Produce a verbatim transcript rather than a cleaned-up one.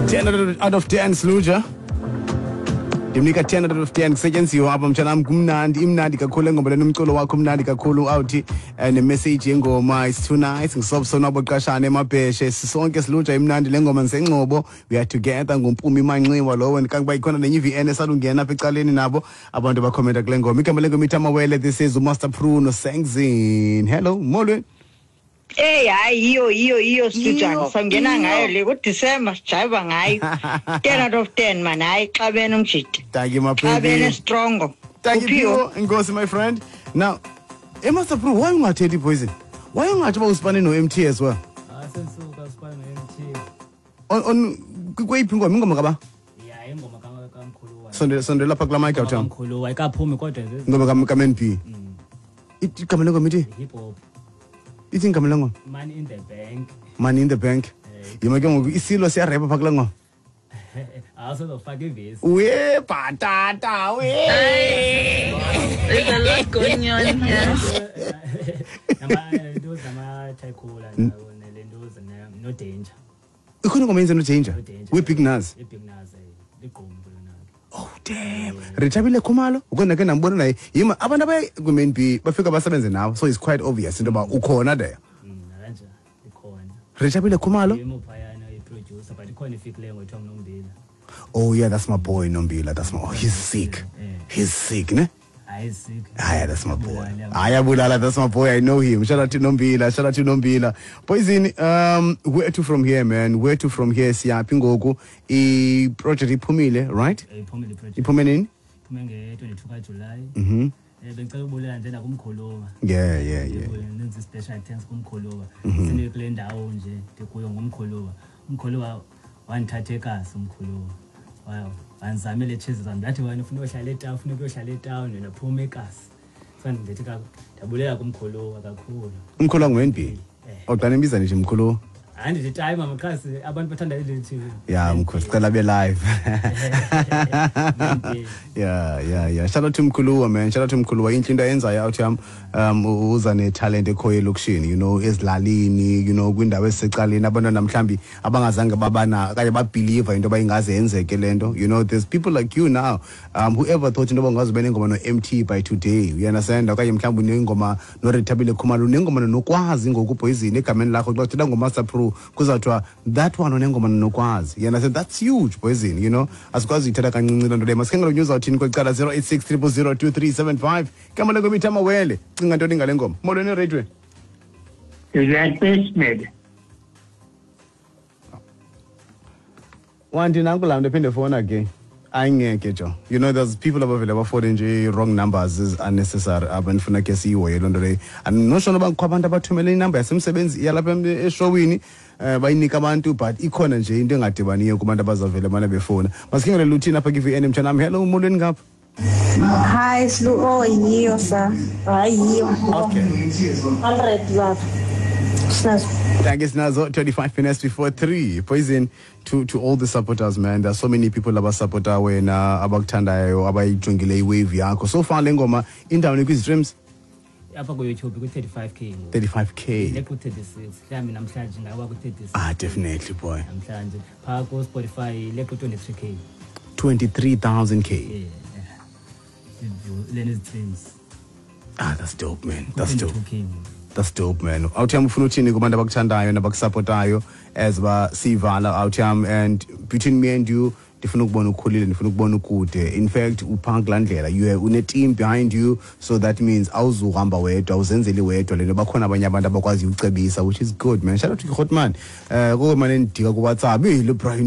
ten out of ten Sluja. Ndimnika ten out of ten kusetyenziwe apha mtshanam, kumnandi, imnandi kakhulu le ngoma lena, umculo wakho umnandi kakhulu awuthi eh, nemessage yengoma is too nice. Ngisobsonwabo Qashane emabheshe sisonke Sluja, imnandi le ngoma ngisengcobo. We are together nguMpumi Manxiwa lowo, kankuba ikhona nenye i-V N esalungena apha ecaleni nabo abantu bakhomenta kule ngoma. Igama lengoma ithi Amawele. This is uMaster Pru Sengzin. Hello, molweni. Hey, hayi, yiyo yiyo yiyo Situjana. Yiyo, Sangena yiyo. ngayo le kuDecember, sijayiva ngayo. ten out of ten man, hayi, xabene umjidi. Thank you, my Xabene baby. Strongo. Thank you. Uphiwo? Phiwo. Inkosi, my friend. Now, eh Master Pru, why ungathethi poison? Why ungathi uba usipane no-M T as well? Ah, sensuka sifana no-M T. On on kweyiphi ingoma, ingoma kaba? Ya, ingoma ka- kamkhulu. Sondela sondela lapha kula mic out. Kamkhulu ayikaphumi kodwa nje. Ingoma ka ka M N P. Ithi igama lengoma ithi? Hip hop. Ithi igama lengoma? Money in the Bank. Money in the Bank. Eh. Yima ke ngoku isilo siyarepa pha kula ngoma. Awusezofaka ivesi. We patata we. There's a lot going on here. Nama nto zama-tycola nele nto no Danger. Ikhona ingoma yenze no Danger. No Danger. We Big Nuz. I-Big Nuz, eh, ligqumbu lona. Oh damn. Rethabile Khumalo, ukona ke nambona naye. Yima abantu abaye ku-M N B bafika basebenze nawe, so it's quite obvious into yoba ukhona there. Mm, nakanje ikhona. Rethabile Khumalo? Yimo phayana i-producer, but ikhona ifikileyo ngothiwa nguNombila. Oh yeah, that's my boy Nombila. That's my oh, he's sick. Yeah. He's sick, ne? Hayi, sick. Haya, that's my boy. Bulala. Haya Bulala, that's my boy. I know him. Shout out to Nombila. Shout out to Nombila. Poison, um, where to from here, man? Where to from here? Siyaphi ngoku? I project iphumile, right? Eh, iphumile i-project. Iphume nini? Iphume nge-twenty-two kaJulayi. Mhm. um bengicela ubulela nje nakumkhuluwa. Yeah, yeah, yeah. Nenze special thanks kumkhuluwa. Sine kule ndawo nje ndikuyo ngumkhuluwa. Umkhuluwa wandithatha ekasi, umkhuluwa Wa- wanzamela etshizi zam, ndathi wena ufuna uyohlala etawuni, ufuna ukuyohlala etawuni, wena phuma ekasi. So ndithi ka- ndiyabulela kumkhuluwa kakhulu. Umkhulu ngu-N B. Eh. Awuqala imbiza nje mkhulu. Hayi, ndithi tayi mama, qha si- abantu bathanda elithi. Yeah, mkhulu, sicela be live. yeah, yeah, yeah. Shout out to Mkhuluwa, man. Shout out to Mkhuluwa. Inhle into ayenzayo out yam. Um uza ne talent ekhoyo elokishini, you know, ezilalini, you know, kwindawo esecaleni abantwana mhlambi abangazange babana kanye babelieve into bayingaze yenzeke lento. You know, there's people like you now. Um whoever thought into bangaze benengoma no M T by today. You understand? Okanye mhlawumbi unengoma no Rethabile Khumalo, unengoma nokwazi ngoku Poison egameni lakho xa uthetha ngoMaster Pro kuzawuthiwa that one unengoma nokwazi. You understand? That's huge, Poison, you know. Asikwazi uyithetha kancinci loo nto leyo. Masikhangele news awuthini kwecala zero eight six zero zero zero two three seven five. Igama lengoma ithi Amawele. Cinga ntoni ngale ngoma? Molweni ereyidweni. Is that Smith? Wanti nanku laa mntu ephinde fowuna again. Ayingeke jo. You know there's people abavele bafone nje wrong numbers is unnecessary apha, ndifuna ke siyihoye loo nto leyo. Andinotsho noba kukho abantu abathumele inamba yasemsebenzi yalapha em- eshowini um bayinika abantu, but ikhona nje into engadibaniyo kubantu abazavele mane befowuna. Masikhangele luthini apha kwi-V N mtshanam. Hello, molweni ngapha. Hi, Slu. Oh, yiyo sa. Hayi, yiyo. Okay. one hundred baba. Sinazo. Thank you, Snazo. twenty-five minutes before three. Poison to, to all the supporters, man. There are so many people abasupporta wena, abakuthandayo, abayijongile iwave yakho. So far le ngoma indawoni kwi-streams? Apha kuYouTube kwi-thirty-five k ngoku. thirty-five k. Le ku-thirty-six mhlawumbi namhlanje ingaba ku-thirty-six. Ah, definitely, boy. Namhlanje phaa kuSpotify le ku-twenty-three k. twenty-three thousand k. Yeah, lena streams. Ah, that's dope, man. That's dope. twenty-two k ngoku. That's dope, man. Awuthi ufuna uthini kubantu abakuthandayo nabakusupportayo as ba sivala awuthi, and between me and you, ndifuna ukubona ukhulile, ndifuna ukubona ukude. In fact, uphaa kulaa ndlela, you have une-team behind you, so that means awuzuhamba wedwa, awuzenzeli wedwa le nto, bakhona abanye abantu abakwaziyo ucebisa, which is good, man. Shout out to Hotman um koko mane ndidika kuWhatsApp, eyi le Brian.